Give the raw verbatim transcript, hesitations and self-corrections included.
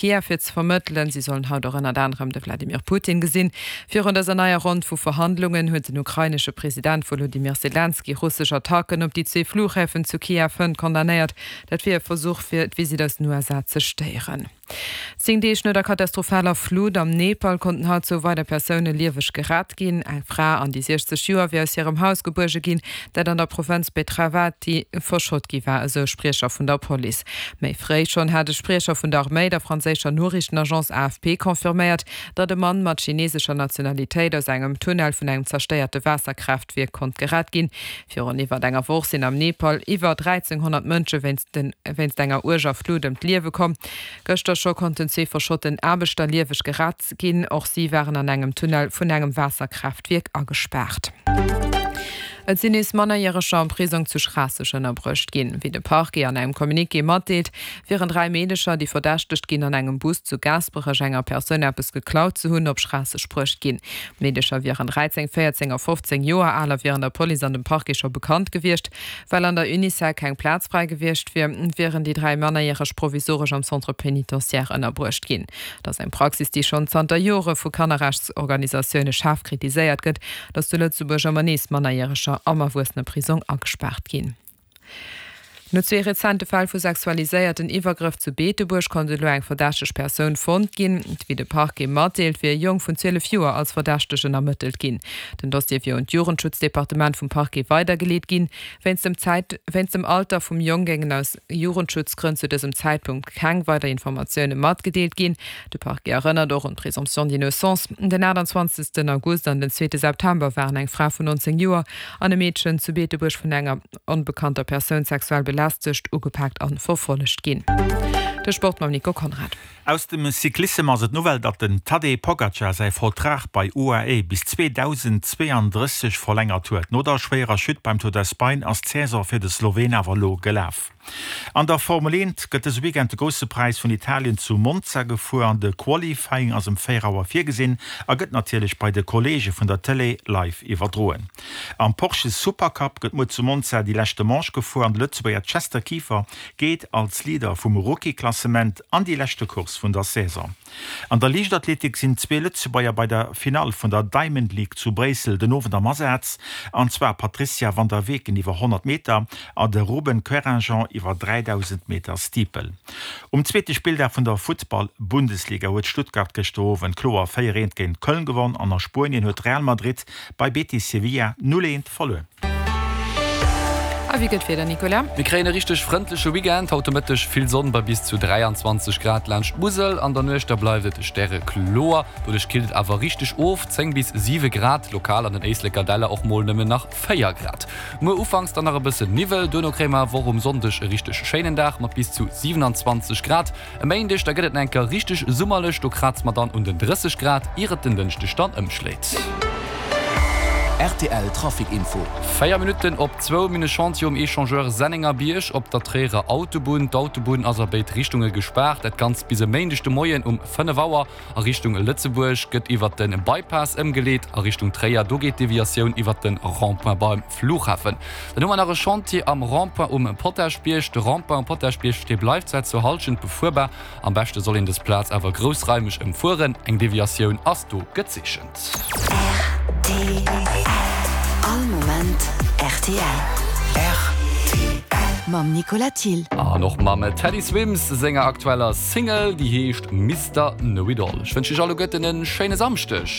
Kiew fir ze vermëttelen. Si sollen haut och ënnert anerem de Wladimir Putin gesinn. Virun dëser neier Ronn vu Verhandlungen huet den ukrainesche President Wolodymyr Selenskyj russesch Attacken op déi zwee Fluchhäfen zu Kiew hënt condamnéiert. Dat wier e Versuch fir d'Visitt aus den U S A ze stéieren. Zéng Deeg no der katastrophaler Flut am Nepal konnten haut zwou weider Persoune lieweg gerett ginn. Eng Fra an déi siechzeg Joer wier aus hirem Haus gebuerge ginn, dat an der Provënz Betravati verschott gi war, esou e Spriecher vun der Police. Méi fréi schonn hat e Spriecher vun der Arméi der franséischer Noriichtenagence A F P confirméiert, datt e Mann mat chinesescher Nationalitéit aus engem Tunnel vun engem zerstéierte Waasserkraaftwierk konnt gerett ginn. Virun iwwer enger Woch sinn am Nepal iwwer dräizénghonnert Mënsche wéinst den, wéinst enger uerger Flut ëm d'Liewe komm. Gëschter scho konnten zwee verschotten Aarbechter lieweg gerett ginn. Och si waren an engem Tunnel vun engem Waasserkraaftwierk agespaart. Et sinn nees Mannerjäreger am Prisong zu Schraasseg ënnerbruecht ginn. Wéi de Parquet an engem Communiqué matdeelt, wieren dräi Meedecher, déi verdächtegt ginn, an engem Bus zu Gaasperech enger Persoun eppes geklaut ze hunn, op Schraasseg bruecht ginn. Meedecher wieren dräizéng, véierzéng a fofzéng Joer al a wieren der Police an dem Parquet scho bekannt gewiescht. Well an der Unicell keng Plaz frei gewiescht wier, wieren déi dräi Mannerjäreg provisoresch am Centre pénitentiaire ënnerbruecht ginn. Dat ass eng Praxis, déi schonn zanter Jore vu Kannerrechtsorganisatioune schaarf kritiséiert gëtt, datt zu Lëtzebuerg ëmmer nees Mannerjäreger am Erwuesseneprisong agespaart ginn. No zwee rezente Fäll vu sexualiséierten Iwwergrëff zu Beetebuerg konnt elo eng verdächteg Persoun fonnt ginn. Wéi de Parquet matdeelt, wier e Jong vun zwielef Joer als Verdächtegen ermëttelt ginn. Den Dossier wier un d'Jugendschutzdepartement vum Parquet weidergeleet ginn. Wéinst dem Zäit, wéinst dem Alter vum Jong géingen aus Jugendschutzgrënn zu dësem Zäitpunkt keng weider Informatioune matgedeelt ginn. De Parquet erënnert och un d'Présomption d'innocence. Den achtundzwanzegsten August an den zweete September waren eng Fra vun neunzéng Joer an e Meedchen zu Beetebuerg vun enger onbekannter Persoun sexuell belästegt, ugepaakt an verfollegt ginn. De Sport mam Nico Konrad. Aus dem Cyclissem ass et Nouvelle, datt den Tadej Pogacar säi Vertrag bei U A E bis zweetausendzweeanddrësseg verlängert huet. No der schwéierer Chute beim Tour d'Espagne ass d'Saison fir de Slowen awer lo gelaf. An der Formel eent gëtt dëse Weekend de grousse Präis vun Italien zu Monza gefuer an de Qualifying ass um véier Auer virgesinn a gëtt natierlech bei de Kollege vun der Télé live iwwerdroen. Am Porsche Supercup gëtt muer zu Monza déi leschte Manche gefuer an de Lëtzebuerger Chester Kieffer geet als Leader vum Rookie-Klassement an déi leschte Course vun der Saison. An der Liichtathletik sinn zwee Lëtzebuerger bei der Finale vun der Diamond League zu Bréissel den Owend am Asaz, an zwar Patricia van der Weken iwwer honnert Meter an de Ruben Querinjean iwwer dräidausend Meter Steeple. Um zweete Spilldag vun der Futtball-Bundesliga huet Stuttgart gëschter Owend kloer véier eent géint Köln gewonnen an a Spuenien huet Real Madrid bei Betis Sevilla null eent verluer. A wéi gëtt wieder, Nicolas? Mir kréien e richteg frëndleche Weekend. Haut de Mëtteg vill Sonn bei bis zu dräiandzwanzeg Grad laanscht d'Musel. An der Nuecht da bleift et stärekloer. Doduerch killt et awer richteg of, zéng bis siwe Grad. Lokal an den Éisleker Däller och mol nëmmen nach véier Grad. Muer ufanks dann nach e bëssen Niwwel. Duerno kréie mer awer och um Sonndeg e richteg schéinen Dag mat bis zu siewenundzwanzeg Grad. E Méindeg da gëtt et enker richteg summerlech. Do kratzt mer dann un den drësseg Grad, ier et den Dënschdeg dann ëmschléit. R T L Trafic Info. Véier Minutten op zwou Minne Chantier um Échangeur Sennengerbierg op der Tréierer Autobunn. D'Autobunn ass a béid Richtunge gespaart. Dat Ganzt bis e Méindeg de Moien um fënnef Auer. A Richtung Lëtzebuerg gëtt iwwer den Bypass ëmgeleet. A Richtung Tréier, do geet d'Deviatioun iwwer den Rond-point beim Flughafen. Dann hu mer nach e Chantier am Rond-point um Potaschbierg. De Rond-point um Potaschbierg, dee bleift zwar zur Hallschent befuerbar. Am beschte soll een dës Plaz awer groussraimeg ëmfueren. Eng Deviatioun ass do gezeechent. R T L. All Moment R T L. R T L. Mam Nicolas Thill. An och mam Teddy Swims senger aktueller Single, déi heescht Mister Know-It-All. Ech wënsche iech alleguerten en schéine Samschdeg.